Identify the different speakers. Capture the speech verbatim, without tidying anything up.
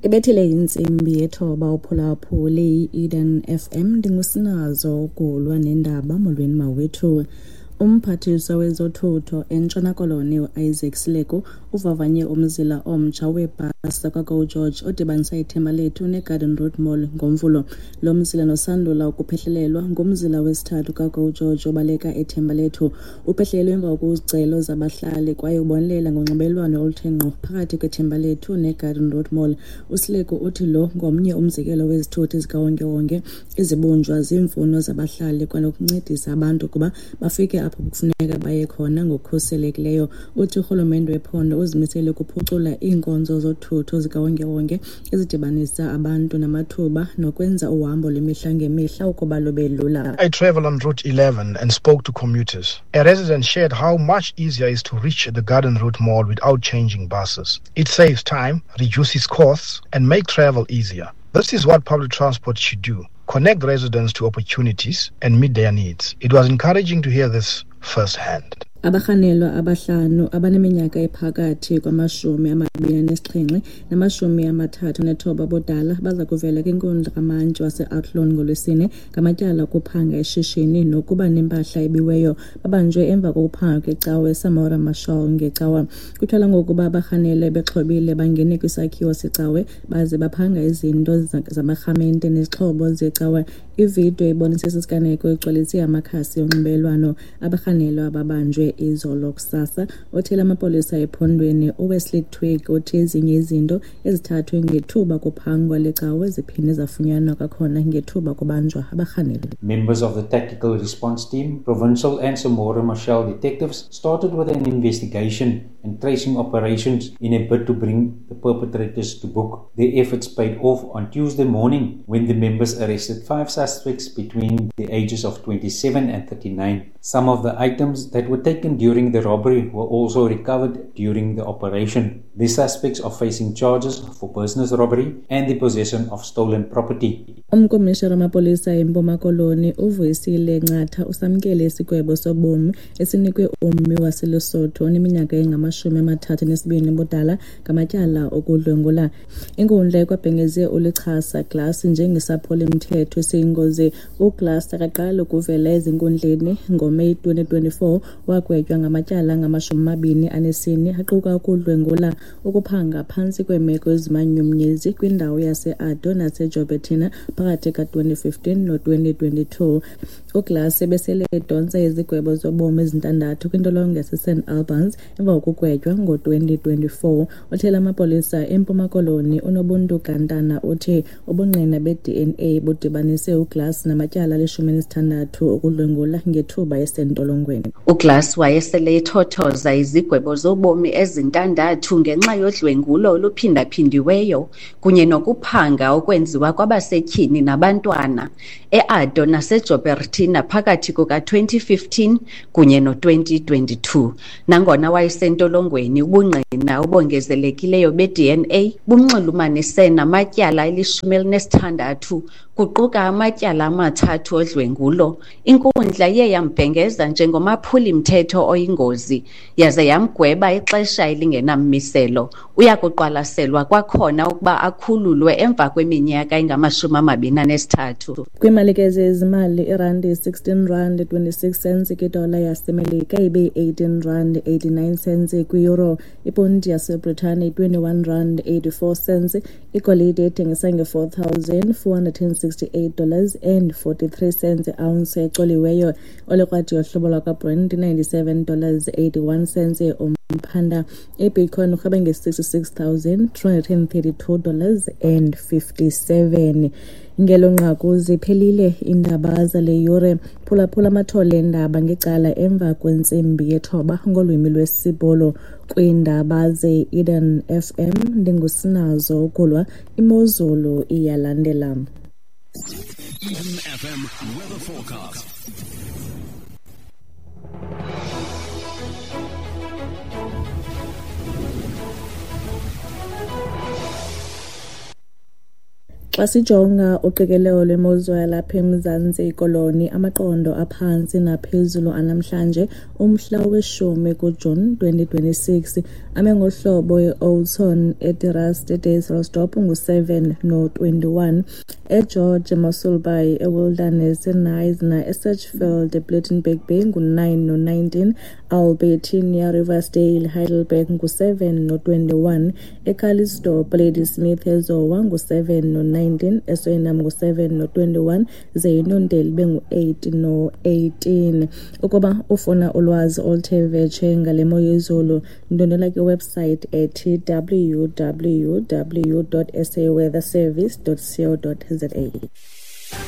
Speaker 1: Ibethile intsimbi yethoba uphulaphule i-Eden F M, ndingusinazo ukulwa nendaba. Molweni mawethu. Umphathiswa wezothutho eNtshona Koloni u-Isaac Sileku uvavanye umzila omtsha weebhasi zakwaGo George odibanisa iThembalethu neGarden Route Mall ngoMvulo. Lo mzila nosandula ukuphehlelelwa ngumzila wesithathu kaGo George obaleka eThembalethu. Uphehlelelwe emva kwezicelo zabahlali kwaye ubonelela ngonxibelelwano oluthe ngqo phakathi kweThembalethu neGarden Route Mall. USileku uthi lo ngomnye umzekelo wezithuthi zikawonkewonke ezibunjwa ziimfuno zabahlali kwanokuncedisa abantu ukuba bafike apho kufuneka baye khona ngokukhuselekileyo. Uthi urhulumente wephondo uzimisele ukuphucula iinkonzo zothutho zikawonkewonke ezidibanisa abantu namathuba nokwenza uhambo lwemihla ngemihla ukuba lube lula.
Speaker 2: I travel on Route eleven and spoke to commuters. A resident shared how much easier it is to reach the Garden Route Mall without changing buses. It saves time, reduces costs, and makes travel easier. This is what public transport should do: connect residents to opportunities and meet their needs. It was encouraging to hear this firsthand.
Speaker 1: Abarhanelwa abahlanu abaneminyaka ephakathi kwamashumi amabini anesixhenxe namashumi amathathu anethoba ubudala baza kuvela kwinkundla kamantyi wase-Athlone ngoLwesine ngamatyala okuphanga ishishini nokuba nempahla ebiweyo. Babanjwe emva kokuphanga kwecawa eSamora Machel ngeCawa. Kutyholwa ngokuba abarhanelwa bexhobile bangene kwisakhiwo secawe baze baphanga izinto zamarhamente nezixhobo zecawa. Ividiyo ebonisa esi siganeko igcwalise amakhasi onxibelelwano. Abarhanelwa babanjwe izolo kusasa. Othethela amapolisa ephondweni uWesley Twigg uthi ezinye izinto ezithathwe ngethuba kuphangwa le cawe ziphinde zafunyanwa kwakhona ngethuba kubanjwa abarhanelwa.
Speaker 3: Members of the Tactical Response Team, Provincial and Samora Machel detectives started with an investigation and tracing operations in a bid to bring the perpetrators to book. Their efforts paid off on Tuesday morning when the members arrested five suspects between the ages of twenty-seven and thirty-nine. Some of the items that were taken during the robbery were also recovered during the operation. The suspects are facing charges for business robbery and the possession of stolen property.
Speaker 1: Umkomishara wamapolisa eMpuma Koloni uVuyisile Ncatha usamkele isigwebo sobomi esinikwe ummi waseLesotho oneminyaka engamashumi amathathu anesibini ubudala ngamatyala okudlwengula. Inkundla ikwabhengeze uLechasa Glass njengesaphuli-mthetho esiyingozi. UGlass akaqali ukuvela ezinkundleni. NgoMeyi twenty twenty-four wagwetywa ngamatyala angamashumi amabini anesine aquka ukudlwengula, ukuphanga phantsi kweemeko ezimanyumnyezi kwindawo yase-Addo naseJouberton phakathi ka-twenty fifteen no-twenty twenty-two. UGlass ebesele edontsa izigwebo zobomi ezintandathu kwintolongo yaseSt Albans emva kokugwetywa ngo-twenty twenty-four. Othethela amapolisa eMpuma Koloni uNobuntu Gantana uthi ubungqina be-D N A budibanise uGlass namatyala alishumi elinesithandathu okudlwengula ngethuba esentolongweni.
Speaker 4: UGlass wayesele ethothoza izigwebo zobomi ezintandathu ngenxa yodlwengulo oluphindaphindiweyo kunye nokuphanga okwenziwa kwabasetyhini nabantwana e-Addo naseJouberton phakathi kuka-twenty fifteen kunye no-twenty twenty-two. Nangona wayesentolongweni, ubungqina obongezelekileyo be-D N A bumnxulumanise namatyala elishumi elinesithandathu kuquka amatyala amathathu odlwengulo. Inkundla iye yambhengeza njengomaphuli-mthetho oyingozi yaze yamgweba ixesha elingenammiselo. Uya kuqwalaselwa kwakhona ukuba akhululwe emva kweminyaka engamashumi amabini anesithathu.
Speaker 1: Kwiimalike zezimali, irandi sixteen rand twenty-six cents kwidola yaseMelika, ibe eighteen rand eighty-nine cents kwi-euro. Iponti yaseBritane twenty-one rand eighty-four cents. Igolide ethengisa nge-four thousand four hundred and sixty-eight dollars and forty-three cents ounce ecoliweyo. Olekrwada yohlobo lwakwaBrent ninety-seven dollars eighty-one cents umphanda. IBitcoin urhweba nge-sixty-six thousand three hundred and thirty-two dollars and fifty-seven. Ngelo nqaku ziphelile iindaba zale yure. Phulaphula amathole eendaba ngecala emva kwentsimbi yethoba ngolwimi lwesiBhulu. Kwiindaba ze-Eden F M ndingusinazo ukulwa. Imozulu iyalandela.
Speaker 5: Eden F M weather forecast.
Speaker 1: Xa sijonga uqikelelo lwemozulu yalapha eMzantsi Koloni, amaqondo aphantsi naphezulu anamhlanje umhla weshumi kuJuni twenty twenty-six ame ngohlobo: eOutston, eTerraste, eDysselsdorp ngu-seven no-twenty-one, eGeorge, eMossel Bay, eWilderness, eKnysna, eSedgefield, ePlettenberg Bay ngu-nine no-nineteen, Albertinia, Riversdale, Heidelberg ngu-seven no-twenty-one, eCalitzdorp, Ladysmith, eZowa ngu-seven no-nineteen, eSwellnum ngu-seven no-twenty-one, ze iNonteli ibe ngu-eight no-eighteen. Ukuba ufuna ulwazi oluthe vetshe ngale mo yezulu, ndwendwela kwiwebsite ethi W W W dot saweatherservice dot co dot za.